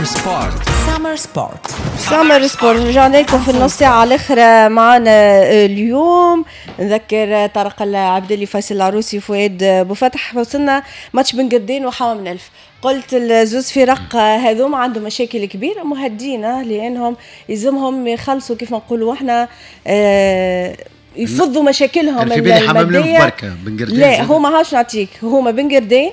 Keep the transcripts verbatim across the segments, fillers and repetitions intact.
سمر سبورت. سمر سبورت. سمر سبورت، رجعنا لكم في النص ساعة الأخرى معنا اليوم. نذكر طارق العبدلي، فيصل العروسي، فؤاد بوفتح. وصلنا ماتش بن قردين وحمام الأنف. قلت الزوز فرق هذوما عندهم مشاكل كبيرة مهدينا، لأنهم يلزمهم يخلصوا كيف ما نقولوا احنا آه يفضوا مشاكلهم في بالي حمام الأنف بركة بن قردين. لا هما هاش نعطيك، هما بن قردين،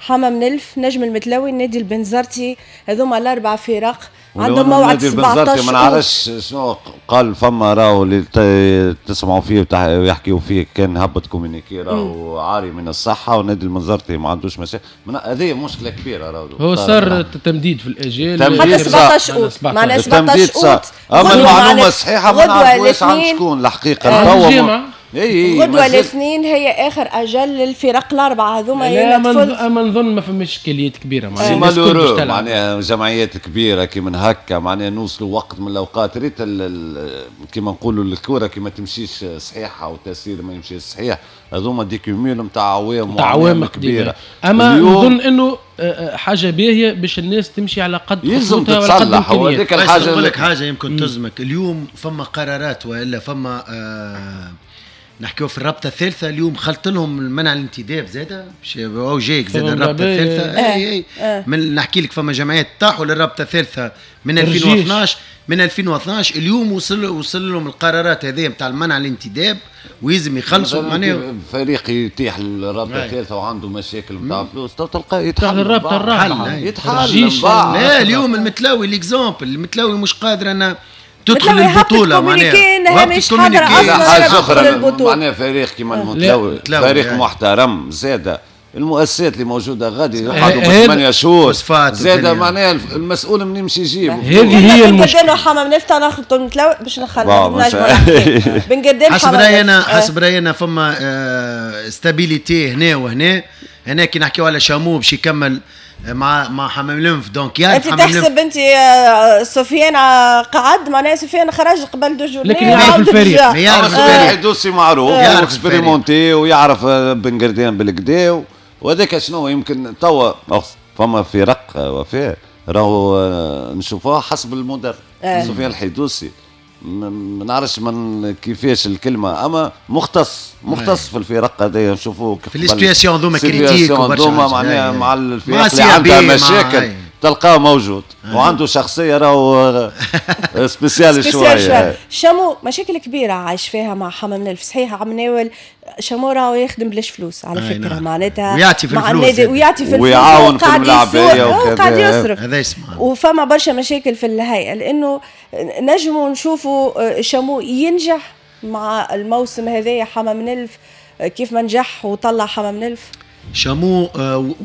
حمام نلف، نجم المتلوي، النادي البنزرتي، هذوما الاربع فرق عندهم موعد سبعطاش. ما نعرفش شنو قال فما راهو اللي تسمعوا فيه ويحكيوا فيه كان هبط communiqué راهو عاري من الصحة، والنادي البنزرتي ما عندوش مشاكل. هذه مشكلة كبيرة راهو. هو صار تمديد في الاجال حتى سبعطاش اوت، معناها سبعطاش اوت. اما المعلومة الصحيحة ما نعرفوش عن شكون الحقيقة توا. غدوة الاثنين هي اخر اجل للفرق الاربعة هذوما. لا اما نظن ما فماش اشكاليات كبيرة معناها malheureux معناها جمعيات كبيرة كي من هكا معناها نوصلوا وقت من الاوقات ريت كيما نقولوا الكره كي ما تمشيش صحيحه والتسيير ما يمشيش صحيح، هذوما des cumuls نتاع عوام عوام كبيرة. اما نظن انه حاجة باهيه باش الناس تمشي على قد يلزم تتصلح. وهذيك الحاجة نقول لك حاجة يمكن تزمك اليوم، فما قرارات والا فما آه نحكيو في الرابطة الثالثة اليوم خلط لهم منع الانتداب زاده او جايك زاده الرابطة الثالثة. اي اي آه. من نحكي لك فما جمعيات طاحوا للرابطة الثالثة من ألفين واثناش، من ألفين واثناش اليوم وصل وصل لهم القرارات هذه نتاع المنع الانتداب ويلزم يخلصوا. معناها فريق يتيح للرابطة الثالثة وعنده مشاكل نتاع فلوس تلقاه يتحل الرابطة الرابعة يتحل. لا اليوم المتلاوي l'exemple المتلاوي مش قادر انا تدخل البطولة معناها مش حاضره اصلا. حاجة اخرى معناها فريق كيما المتلاوي فريق محترم زاده، المؤسسات اللي موجودة غادي يقعدوا بثمانية شهور زاده معناها المسؤول منين يمشي يجيب. هذه هي المشكلة. بن قردان وحمام نلف ناخذ المتلاوي باش نخلي بن قردان. حسب راينا حسب راينا فما stabilité هنا وهنا. هنا كي نحكيو على شامو باش يكمل مع مع حمام الانف donc يعرف انت تحسب انت سفيان قعد معناها سفيان خرج قبل deux journées، لكن يعرف الفريق، يعرف الفريق dossier معروف expérimenté ويعرف بن قردان بالكدا وهذاك شنو يمكن توا فما فرق وفاء راهو نشوفوها حسب المدرب. سفيان الحيدوسي ما نعرفش من كيفاش الكلمة اما مختص مختص في الفرق هذايا نشوفوه في les situations هذوما critiques وبرشا معناها مع الفرق اللي عندها مشاكل تلقاه موجود وعنده شخصية راهو spéciale شوية. شامو مشاكل كبيرة عايش فيها مع حمام الأنف، صحيح عم ناول شامو راهو يخدم بلاش فلوس على فكرة، معناتها ويعطي في الفلوس ويعطي في الفلوس ويعاون في الملاعبيه وقاعد يصرف هذا يسمع. وفما برشا مشاكل في الهيئة لانه نجموا نشوفوا شامو ينجح مع الموسم هذايا حمام الأنف كيف ما نجح وطلع حمام الأنف. شامو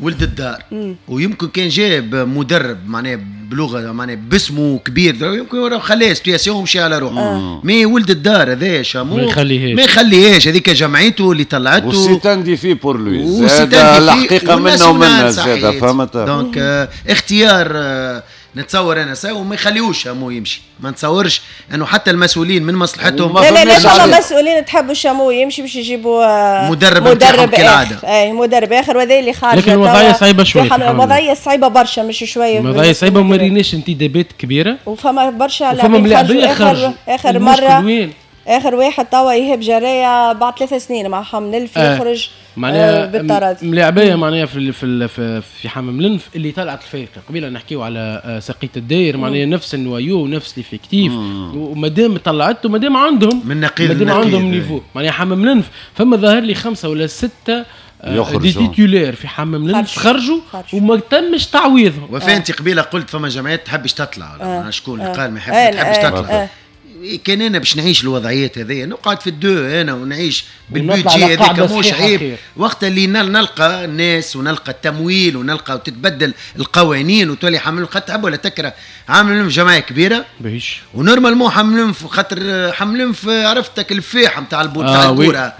ولد الدار مم. ويمكن كان جاب مدرب معناها بلغه معناها باسمه كبير يمكن خلاه situation ومشي على روحه آه. mais ولد الدار هذا شامو ما يخليهاش ما يخليهاش، هذيك جمعيته اللي طلعته و c'est un défi pour lui الحقيقة منه ومنه زاد فهمت. donc آه اختيار آه نتصور انا ساو وما يخليوش شامو يمشي، ما نتصورش انه حتى المسؤولين من مصلحتهم. لا لا لا فما مسؤولين تحبوا شامو يمشي باش يجيبوا مدرب مدرب كالعادة. اي مدرب اخر وهذا اللي خارج. لكن الوضعية صعيبة شوية، الوضعية صعيبة برشا مش شوية، الوضعية صعيبة وما ريناش انتدابات كبيرة وفما برشا لاعبين اخر اخر مرة اخر واحد توا ايهاب جرايه بعد ثلاث سنين مع حمام الأنف آه. يخرج معناها آه بالطرد. ملاعبيه معناها في في في, في حمام الأنف اللي طلعت الفريق قبيلة نحكيو على سقيط الداير معناها نفس ال noyau ونفس l'effectif ومادام طلعته مادام عندهم من نقيض مادام عندهم niveau معناها حمام الأنف فما ظاهر لي خمسة ولا ستة des titulaires في حمام الأنف خرجوا وما تمش تعويضهم. وفي انت قبيلة قلت فما جمعيات تحبش تطلع ولا شكون اللي قال ما يحبش تطلع. كان انا باش نعيش الوضعيات هذيا نقعد في ال deux انا ونعيش بال budget هذاك مش عيب. وقت اللي نلقى الناس ونلقى التمويل ونلقى وتتبدل القوانين وتولي حمل خاطر تحب ولا تكره عامل جمعية كبيرة باهيش و normalement حمل خاطر حمل عرفتك الفاحه نتاع الكورة آه.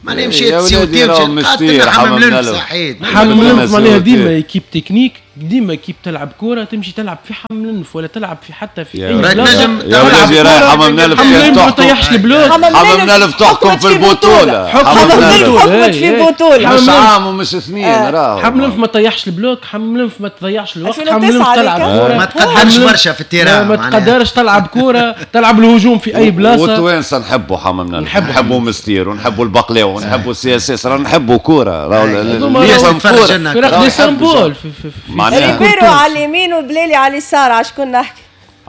معناها مشيت COT مشيت حمام الانف صحيت حمام الانف معناها ديما équipe technique ديما équipe تلعب كورة تمشي تلعب في حمام الانف ولا تلعب في حتى في اي بلاصة. يا ولادي راهي حمام الانف ما تطيحش ال bloc. حمام الانف تحكم في البطولة. حمام الانف حكمت في بطوله مش عام ومش اثنين. راهو حمام الانف ما تطيحش ال bloc، حمام الانف ما تضيعش الوقت، حمام الانف تلعب كورة ما تقدرش برشا في ال terrain، ما تقدرش تلعب كورة، تلعب الهجوم في اي بلاصة. والتوانسه نحبوا حمام الانف، نحبوا مستير ونحبوا البقلاوه ونحبوا ال CSS، راه نحبوا كورة، راهو اللي يفهم كورة فرق des symboles. ريبيرو على اليمين وبلالي على اليسار، على شكون نحكي؟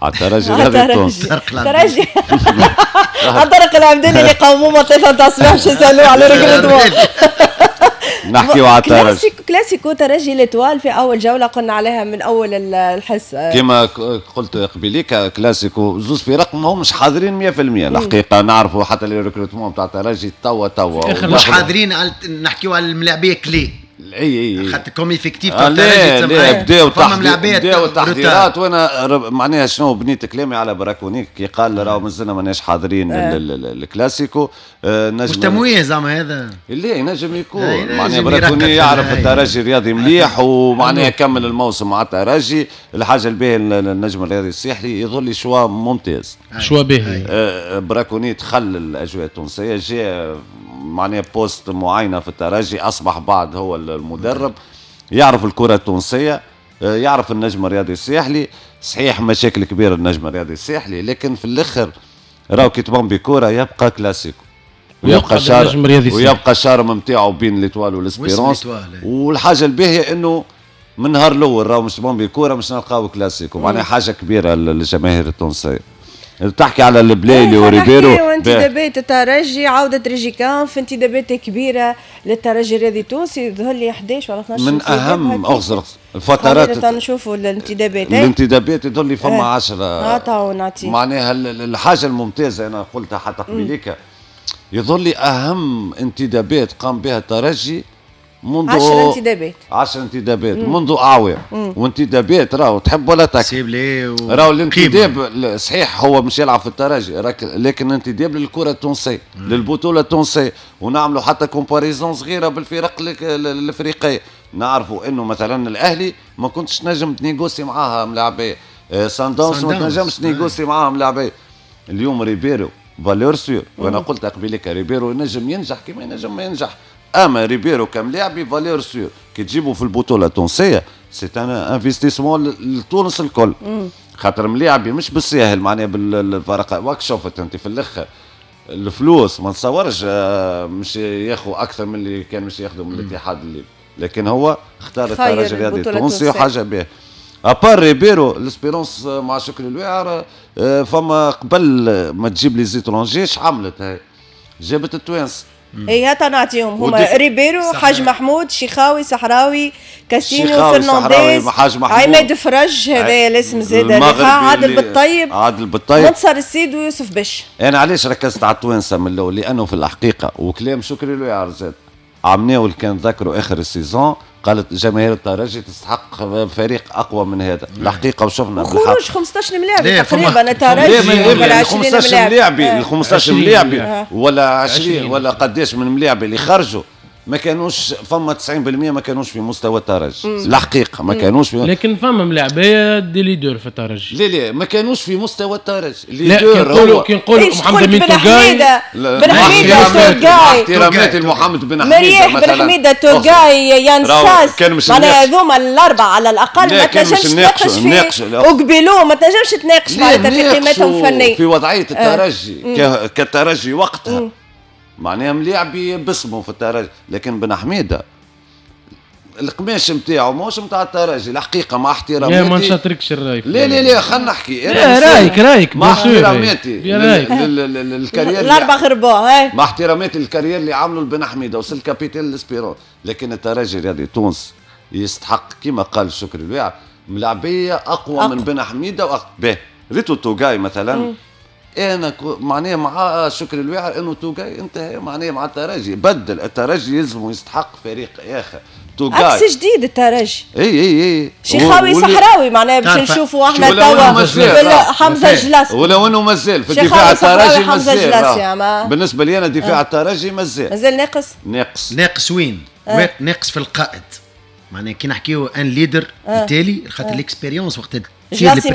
على الترجي الرياضي التونسي. الترجي على طارق العبدلي اللي قوموه ثلاثة تاع الصباح باش يسالوه على recrutement. نحكيو على الترجي. كلاسيكو ترجي l'Étoile في اول جولة قلنا عليها من اول الحصة كما قلت قبيليك، كلاسيكو زوز فرق ما همش حاضرين مية في المية الحقيقة. نعرفوا حتى les recrutements تاع الترجي توا توا مش حاضرين. نحكيو على الملاعبيه clés اي اي خاطر comme effectif تاع الترجي بداو بداو التحضيرات. وانا معناها شنو بنيت كلامي على براكونيك كي قال راهو مازلنا ماناش حاضرين آه. الكلاسيكو آه نجم مش تمويه زعما هذا اللي ينجم يكون معناها براكوني يعرف الترجي الرياضي مليح ومعناها كمل الموسم مع الترجي. الحاجة الباهيه النجم الرياضي الساحلي يظل choix ممتاز، choix باهي. آه براكوني دخل الاجواء التونسية، جاء معناها poste معينة في الترجي، اصبح بعد هو المدرب، يعرف الكره التونسية، يعرف النجم الرياضي الساحلي. صحيح مشاكل كبيرة النجم الرياضي الساحلي، لكن في الاخر راهو كي تبان بكره يبقى كلاسيكو ويبقى charme ويبقى charme نتاعو بين l'Étoile وال Espérance. والحاجة الباهيه انه من نهار الاول راهو مش تبان بكره مش نلقاو كلاسيكو، معناها حاجة كبيرة للجماهير التونسية. تحكي على البلايلي وريبيرو وانتدابات الترجي، عودة ريجيكان في انتدابات كبيرة للترجي الرياضي التونسي، يظهر لي احداش ولا اثناش من أهم أغزر الفترات. نشوفوا الانتدابات، الانتدابات يظهر لي فما عشرة اه نعطي معناها الحاجة الممتازة أنا قلتها حتى قبليك، يظهر لي أهم انتدابات قام بها الترجي منذ عشر انتدابات عشر انتدابات منذ اعوام. وانتدابات راهو تحب ولا تكره، راهو الانتداب صحيح هو مش يلعب في الترجي، لكن انتداب للكرة التونسية للبطولة التونسية. ونعملوا حتى comparaison صغيرة بالفرق الافريقية، نعرفوا انه مثلا الاهلي ما كنتش نجم ت négocier معاها ملاعبيه، ساندونس ما تنجمش ت négocier معاها ملاعبيه. اليوم ريبيرو valeur sûre، وانا قلت قبيلك ريبيرو ينجم ينجح كما ينجم ما ينجح، اما ريبيرو كملاعبي valeur sûre كي تجيبه في البطولة التونسية c'est un investissement لتونس الكل، خاطر ملاعبي مش بالساهل معناها بالفرق. واك شفت انت في الاخر الفلوس ما نتصورش مش ياخذ اكثر من اللي كان مش ياخذه من الاتحاد الليبي، لكن هو اختار الترجي الرياضي التونسي وحاجه به. à part ريبيرو l'Espérance مع شكري الواعر، فما قبل ما تجيب les étrangers عملت هاي جابت التوانسة. اي هات نعطيهم هما ريبيرو، حاج محمود، شيخاوي، صحراوي، كاسينو، فرنانديز، عماد فرج هذا الاسم زاد، عادل بالطيب، عادل بالطيب، منصر السيد، ويوسف بش. انا علاش ركزت على التوانسة من الاول؟ لانه في الحقيقة وكلام شكري الواعر زاد عمناول كان ذكروا اخر ال saison، قالت جماهير الترجي تستحق فريق اقوى من هذا الحقيقة، وشفنا خروج خمسطاش ملاعب تقريبا الترجي ولا خمسطاش ملاعب، خمسطاش ملاعب ولا عشرين ولا قداش من ملاعب اللي خرجوا ما كانوش فما تسعين بالمية ما كانوش في مستوى الترجي الحقيقة، ما كانوش في، لكن فما ملاعبيه des leaders في الترجي. لا لا ما كانوش في مستوى الترجي. leader هو كي نقولوا محمد بن توغاي، بن حميده توغاي، احتراماتي لمحمد بن حميده مريح، بن حميده توغاي، يان ساس، معناها هذوما الاربعة على الاقل ما تنجمش تناقش في وقبلو ما تنجمش تناقش معناتها في قيمتهم الفنية في وضعية الترجي كالترجي وقتها معناها ملاعبي باسمه في الترجي. لكن بن حميده القماش نتاعو ماهوش نتاع الترجي الحقيقة، مع احتراماتي. لا ما نشاطركش الراي. لا لا لا خلينا نحكي. لا رايك رايك مع احتراماتي لل carrière الاربع غرباء، مع احتراماتي لل carrière اللي عملوا لبن حميده وصل capitaine l'Espérance، لكن الترجي الرياضي تونس يستحق كما قال شكري الواعر ملاعبيه اقوى من بن حميده. به ريتو توغاي مثلا انا معناها مع شكري الواعر انه توغاي انتهى معناها مع الترجي، بدل الترجي يلزم يستحق فريق اخر. توغاي عكس جديد الترجي. اي اي اي شيخاوي صحراوي معناها باش نشوفوا احنا توا حمزة جلاس، ولو انه مازال في دفاع الترجي مازال. بالنسبة لي انا دفاع الترجي مازال مازال ناقص. ناقص ناقص وين؟ ناقص في القائد. معناها كي نحكيو un leader التالي خاطر l'expérience وقت تصير